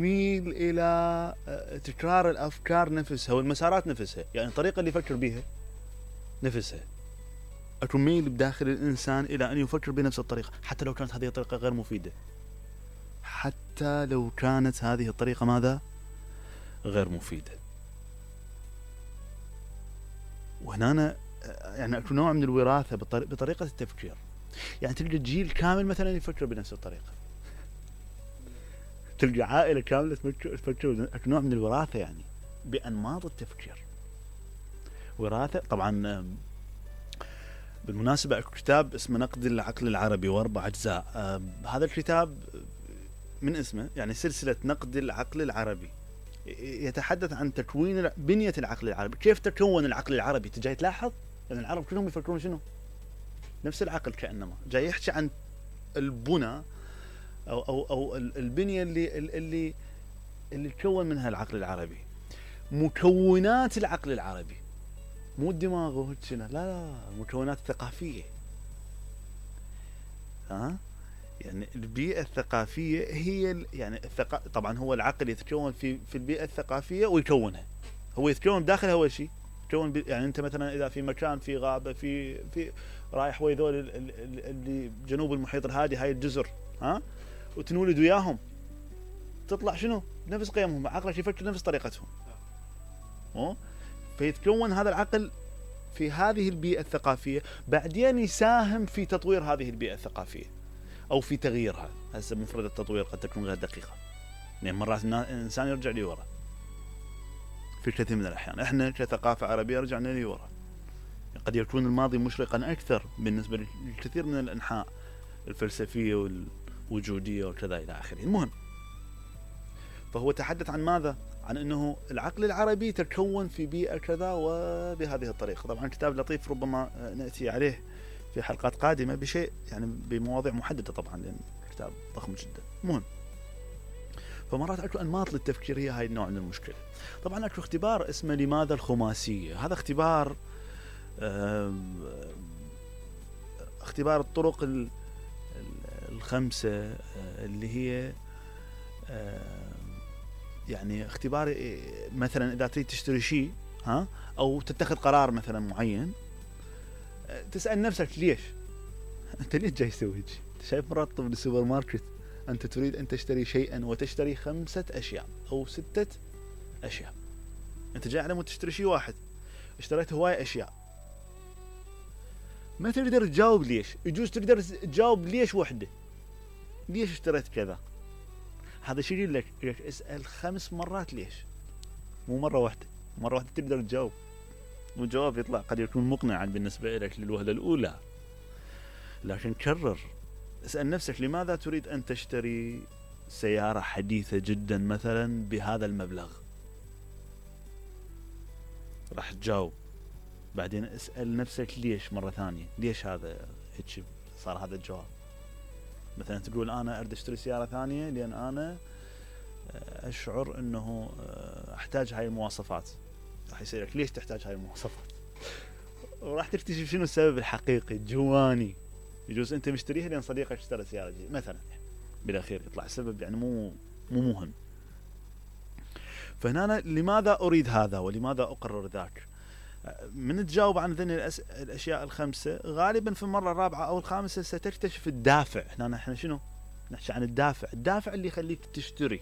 يميل الى تكرار الافكار نفسها والمسارات نفسها، يعني الطريقة اللي يفكر بها نفسها تميل بداخل الانسان الى ان يفكر بنفس الطريقة، حتى لو كانت هذه الطريقة غير مفيدة، حتى لو كانت هذه الطريقة ماذا؟ غير مفيدة. وهنا يعني اكو نوع من الوراثة بطريقة التفكير، يعني تلقى جيل كامل مثلا يفكر بنفس الطريقة، تلقى عائلة كاملة تفكر اكو نوع من الوراثة يعني بأنماط التفكير. وراثة طبعا. بالمناسبة اكو كتاب اسمه نقد العقل العربي واربع اجزاء، هذا الكتاب من اسمه يعني سلسلة نقد العقل العربي، يتحدث عن تكوين بنية العقل العربي، كيف تكون العقل العربي. تجي تلاحظ ان العرب كلهم يفكرون شنو؟ نفس العقل، كأنما جاي يحكي عن البنى او البنية اللي تكون منها العقل العربي، مكونات العقل العربي، مو الدماغ وهيك، لا المكونات الثقافية. يعني البيئة الثقافية هي يعني طبعا هو العقل يتكون في البيئة الثقافية ويكونها، هو يتكون داخلها اول شيء يتكون يعني انت مثلا اذا في مكان في غابة في رايح ويا ذول اللي جنوب المحيط الهادي، هاي الجزر، وتنولد وياهم، تطلع شنو؟ نفس قيمهم، عقلك يفكر نفس طريقتهم. فيتكون هذا العقل في هذه البيئة الثقافية، بعدين يساهم في تطوير هذه البيئة الثقافية أو في تغييرها. هسه مفردة التطوير قد تكون غير دقيقة، يعني مرات الإنسان يرجع لي ورا في كثير من الأحيان. إحنا كثقافة عربية رجعنا لي ورا، قد يكون الماضي مشرقا أكثر بالنسبة للكثير من الأنحاء الفلسفية والوجودية وكذا إلى آخره. المهم، فهو تحدث عن ماذا؟ عن أنه العقل العربي تكون في بيئة كذا وبهذه الطريقة. طبعا كتاب لطيف، ربما نأتي عليه في حلقات قادمة بشيء يعني بمواضيع محددة طبعا، لأن كتاب ضخم جدا. المهم، فمرات اكو انماط للتفكير، هي هاي النوع من المشكلة. طبعا اكو اختبار اسمه لماذا الخماسية، هذا اختبار اختبار الطرق الخمسة اللي هي يعني اختبار مثلا اذا تريد تشتري شيء او تتخذ قرار مثلا معين، تسأل نفسك ليش انت ليش جاي تسوي هيك. شايف مرات بالسوبر ماركت انت تريد ان تشتري شيئا وتشتري 5 أشياء او 6 أشياء، انت جاي على مود تشتري شيء واحد، اشتريت هواي اشياء، ما تقدر تجاوب ليش. يجوز تقدر تجاوب ليش وحده، ليش اشتريت كذا. هذا شيء يقول لك اسأل 5 مرات ليش، مو مرة واحدة. مرة واحدة تقدر تجاوب والجواب يطلع قد يكون مقنعا بالنسبة لك للوهلة الأولى، لكن كرر، اسأل نفسك لماذا تريد أن تشتري سيارة حديثة جدا مثلا بهذا المبلغ، راح تجاوب. بعدين اسأل نفسك ليش مرة ثانية، ليش هذا هيك صار هذا الجواب. مثلا تقول أنا أريد أشتري سيارة ثانية لأن أنا أشعر أنه أحتاج هاي المواصفات. راح يسألك ليش تحتاج هاي المواصفات، وراح تكتشف شنو السبب الحقيقي الجواني. يجوز أنت مشتريها لأن صديقك اشترى سيارة جديدة مثلا، بالأخير يطلع السبب يعني مو مهم. فهنا لماذا أريد هذا ولماذا أقرر ذاك. من تجاوب عن ذني الأشياء الخمسة، غالبا في المرة الرابعة أو الخامسة ستكتشف الدافع. هنا احنا شنو نحكي عن الدافع اللي يخليك تشتري،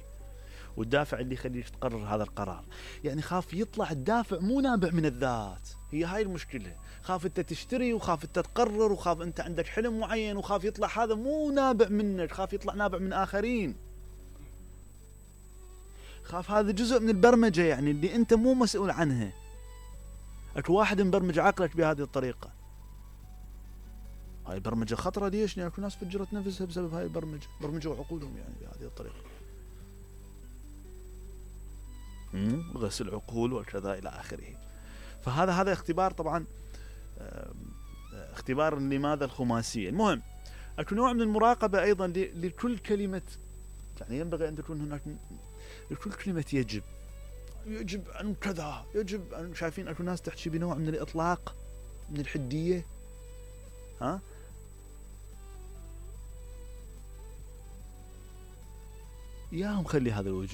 والدافع اللي يخليك تقرر هذا القرار. يعني خاف يطلع الدافع مو نابع من الذات، هي هاي المشكلة. خاف انت تشتري، وخاف انت تقرر، وخاف انت عندك حلم معين، وخاف يطلع هذا مو نابع منك، خاف يطلع نابع من آخرين. خاف هذا جزء من البرمجة يعني اللي انت مو مسؤول عنها. اكو واحد مبرمج عقلك بهذه الطريقة، هاي برمجة خطرة. ليش؟ لأن اكو ناس فجرت نفسها بسبب هاي البرمجة، برمجوا عقولهم يعني بهذه الطريقة، غسل عقول وكذا إلى آخره. فهذا اختبار طبعا، اختبار لماذا الخماسية. المهم، اكو نوع من المراقبة أيضا لكل كلمة، يعني ينبغي أن تكون هناك لكل كلمة يجب أن كذا، يجب أن، شايفين اكو ناس تحكي بنوع من الإطلاق، من الحدية. ياهم خلي هذا الوجود